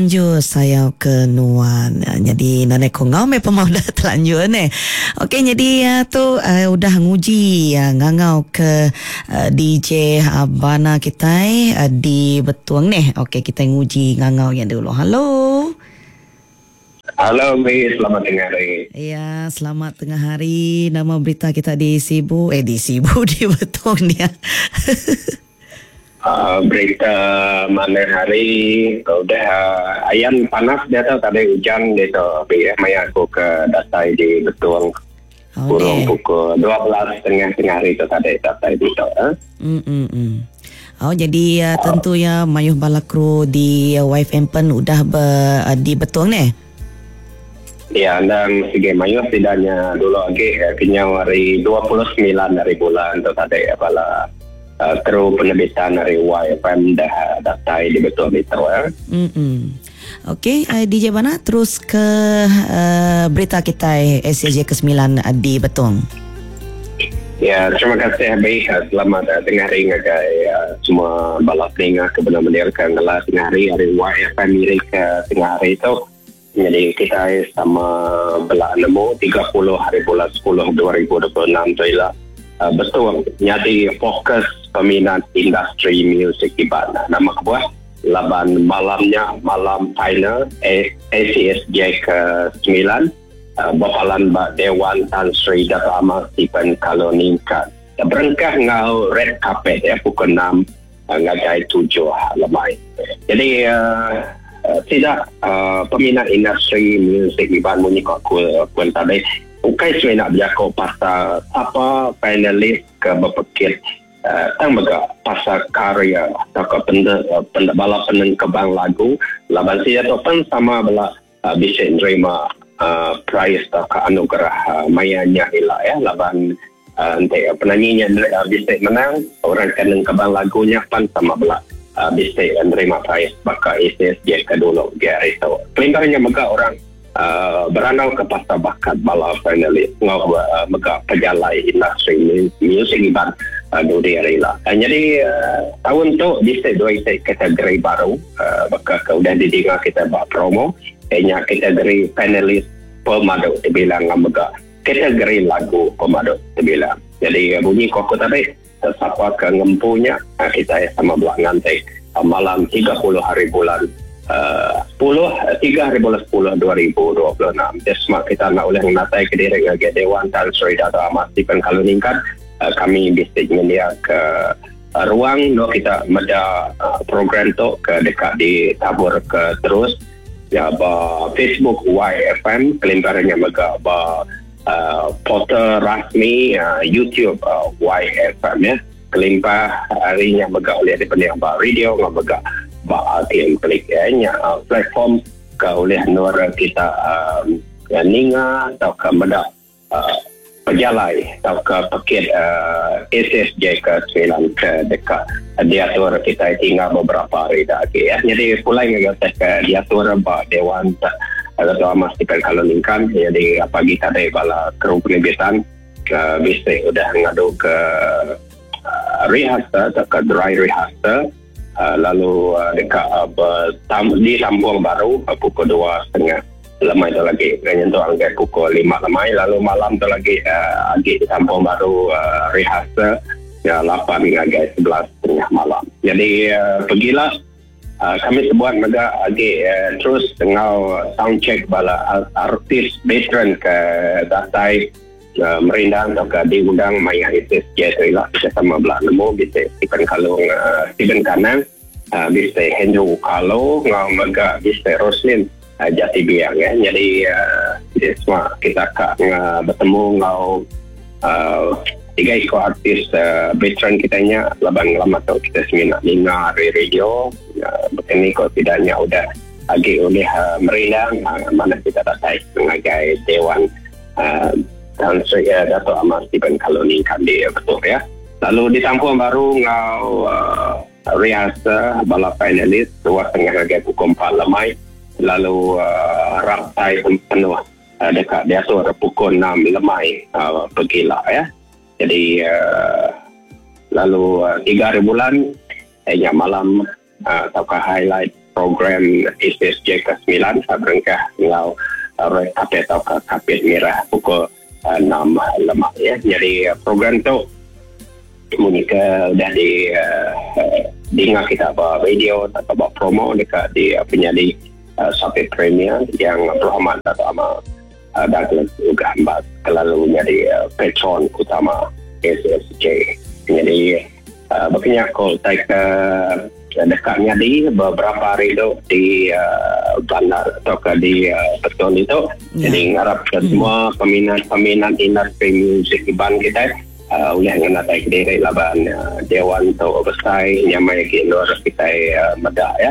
Anjur sayau ke nuan. Nyadi nadai ko enggau meh pemau udah telanjur neh. Okey nyadi tu udah nguji ngangau ke DJ Bana kitai di Betong neh. Okey kitai nguji ngangau iya dulu. Hello. Hello Mi, selamat tengah hari. Ya, selamat tengah hari. Nama berita kita di Sibu? Eh di Sibu di Betong dia. Berita manah hari udah ayan panas diatu tadi ujan ditu pi maya aku ke datai di Betong urung pukul 12 tengah tengah hari tu tadi datai ditu. Em. Oh jadi tentu iya mayuh bala kru di YFM pen udah be di Betong neh. Ya endang sigi mayuh sida nya dulu agi kenyau hari 29 hari bulan tu tadi bala Kru penerbitan ari YFM dah datai di Betul ditu. Mm. Okey, DJ Bana terus ke uh, berita kitai SCJ ke-9 di Betong. Ya, terima kasih Abi. Selamat tengah hari ngagai semua bala peninga ke benar mendirka ngelas tengah hari hari YFM iri ke tengah hari tu. Nyadi kitai sama bela nemu 30 hari bulan 10 2026 tu ila betul nyadi fokus peminat industri muzik Iban. Nama kebuah laban malam nya malam final ACSJ ke-9 bepalan ba Dewan Tan Sri Dato Amar Stephen Kalong Ningkan. Berengkah enggau red carpet ya pukul 6 ngagai 7 lemai. Jadi sida peminat industri muzik Iban munyi ko aku pun tadi ukai semina bejaku pasal sapa finalis ke bepekit tang mega pasal karya tauka bala penengkebang lagu laban sida tu pen sama bela bisi nerima prize tauka anugerah maya nya ila ya laban enti penanyi nya bisi menang orang ke nengkebang lagu nya pan sama bela bisi nerima prize baka ACSJ ke dulu ge hari tu. Kelimpah nya mega orang berandau ke pasal bakat bala finalis enggau mega pejalai industri muzik Iban dudi hari ila. Nyadi taun tu bisi dua iti kategori baru baka ke udah didinga kita ba promo iya nya kategori finalis pemadu tebilang enggau mega kategori lagu pemadu tebilang. Jadi bunyi ko aku tadi sapa ke ngempu nya kitai sama bela nganti malam 30 hari bulan 10 3 hari bulan 10 2026. Dia semua kita enda ulih ngenatai ke diri ngagai Dewan Tan Sri Dato Ahmad Stephen Kalong Ningkan kami bisi nyendia ke ruang endur kita meda program tu ke deka ditabur ke terus ya ba Facebook YFM kelimpah nya mega ba portal rasmi YouTube YFM ya. Kelimpah ari nya mega ulih dipening ba radio enggau mega ba RTM Click ya nya platform ke ulih endur kita ninga tauka meda pejalai tauka pekit SSJ ke semilan ke deka diatur kitai tinggal beberapa hari da agi. Nyadi pulai ngagai utai ke diatur ba Dewan Dato Amar Stephen Kalong Ningkan nyadi pagi tadi bala kru penerbitan ke bisi udah ngadu ke rehearsal tauka dry rehearsal lalu deka disambung baru pukul 2.30 lemai tu lagi nyentuk ngagai pukul 5 lemai lalu malam tu lagi agi disambung baru rehearsal 8 ngagai 11.30 malam. Jadi pegila kami sebuat mega agi terus enggau sound check bala artis veteran ke datai merindang tauka diundang maya SSJ tu ila kita sama bela nemu bisi Stephen Kalong Stephen Kanang bisi Andrew Kalo enggau mega bisi Roslin Jati Biang ya. Nyadi semua kita ka betemu enggau tiga iku artis veteran kita nya laban ngelama tu kita semina ninga ari radio baka ni ko sida nya udah agi ulih merindang manah kita datai ngagai Dewan Tan Sri Dato Amar Stephen Kalong Ningkan di Betong ya. Lalu ditampung baru enggau rehearsal bala finalis 2.30 ngagai pukul 4 lemai lalu raptai penuh deka diatur pukul 6 lemai pegila ya. Jadi lalu 3 hari bulan nya malam tauka highlight. program SSJ ke semilan berengkah enggau red carpet tauka kapit mirah pukul 6 lemai ya. Jadi program tu munyi ke udah di dinga kita ba radio atau ba promo dekat di penyadi Sapit Premier yang berhormat Dato' Amar Douglas Uggah Embas kelalu nyadi patron utama SSJ. Jadi Baka nya ko utai ke deka nyadi beberapa hari tu di bandar tauka di Betong ditu. Jadi ngarap ke semua peminat-peminat industri muzik Iban kitai ulih ngenatai kediri laban dewan tu besai nyamai agi endur kitai meda iya.